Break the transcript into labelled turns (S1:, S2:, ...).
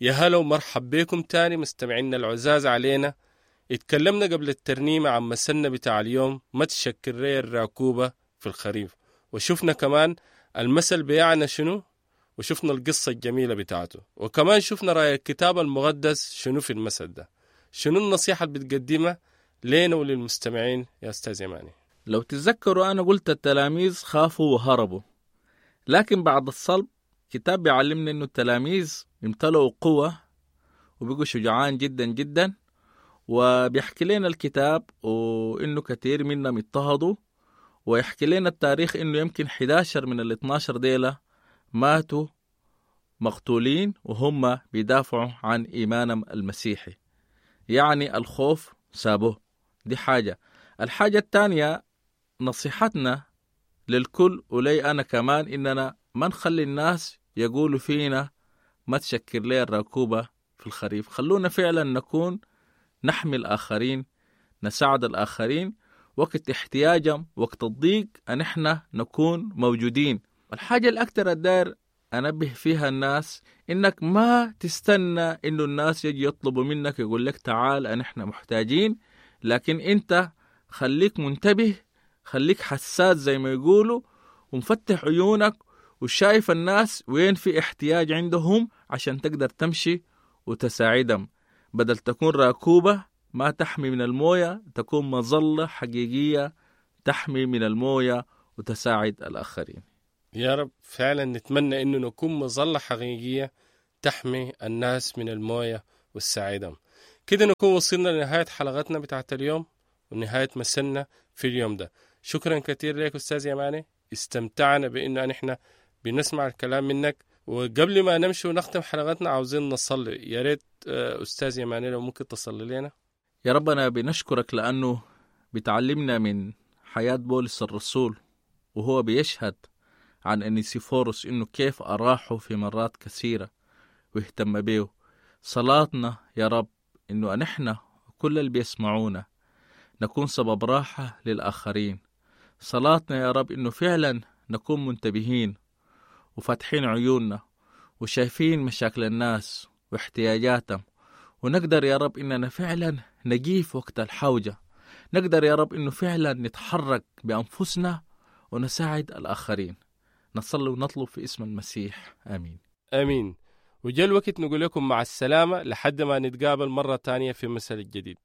S1: يا هلا ومرحب بكم تاني مستمعينا العزاز علينا. اتكلمنا قبل الترنيمة عن مثلنا بتاع اليوم ما تشكر لي الراكوبة في الخريف، وشفنا كمان المثل بيعنى شنو، وشفنا القصة الجميلة بتاعته، وكمان شفنا رأي الكتاب المقدس شنو في المثل ده. شنو النصيحة اللي بتقدمها لينا وللمستمعين يا أستاذ يماني؟
S2: لو تتذكروا أنا قلت التلاميذ خافوا وهربوا، لكن بعد الصلب كتاب بيعلمنا إنه التلاميذ امتلأوا قوة وبقوا شجعان جدا جدا، وبيحكي لنا الكتاب وإنه كثير منهم اضطهدوا، ويحكي لنا التاريخ إنه يمكن 11 من ال 12 ديلة ماتوا مقتولين وهم بيدافعوا عن إيمانهم المسيحي. يعني الخوف سابوه. دي حاجة. الحاجة الثانية نصيحتنا للكل ولي أنا كمان إننا ما نخلي الناس يقولوا فينا ما تشكر لي الراكوبة في الخريف. خلونا فعلا نكون نحمي الآخرين، نساعد الآخرين وقت احتياجهم، وقت الضيق أن احنا نكون موجودين. الحاجة الأكثر الداير أنبه فيها الناس إنك ما تستنى إنه الناس يجي يطلبوا منك يقول لك تعال أن احنا محتاجين، لكن أنت خليك منتبه، خليك حساس زي ما يقولوا، ومفتح عيونك وشايف الناس وين في احتياج عندهم عشان تقدر تمشي وتساعدهم. بدل تكون راكوبة ما تحمي من الموية، تكون مظلة حقيقية تحمي من الموية وتساعد الآخرين.
S1: يا رب فعلا نتمنى إنه نكون مظلة حقيقية تحمي الناس من الموية وتساعدهم. كده نكون وصلنا لنهاية حلقتنا بتاعت اليوم ونهاية مسنا في اليوم ده. شكرا كثير لك أستاذ يماني، استمتعنا بإنه نحن بنسمع الكلام منك. وقبل ما نمشي ونختم حلقتنا عاوزين نصلي، يا ريت أستاذ يماني لو ممكن تصلي لنا.
S2: يا ربنا بنشكرك لأنه بتعلمنا من حياة بولس الرسول وهو بيشهد عن أنيسيفوروس إنه كيف أراحه في مرات كثيرة واهتم به. صلاتنا يا رب إنه نحن كل اللي بيسمعونا نكون سبب راحة للآخرين. صلاتنا يا رب إنه فعلا نكون منتبهين وفاتحين عيوننا وشايفين مشاكل الناس واحتياجاتهم، ونقدر يا رب إننا فعلا نجيف وقت الحوجة، نقدر يا رب إنه فعلا نتحرك بأنفسنا ونساعد الآخرين. نصلي ونطلب في اسم المسيح، آمين.
S1: آمين. وجاء الوقت نقول لكم مع السلامة لحد ما نتقابل مرة تانية في مثل الجديد.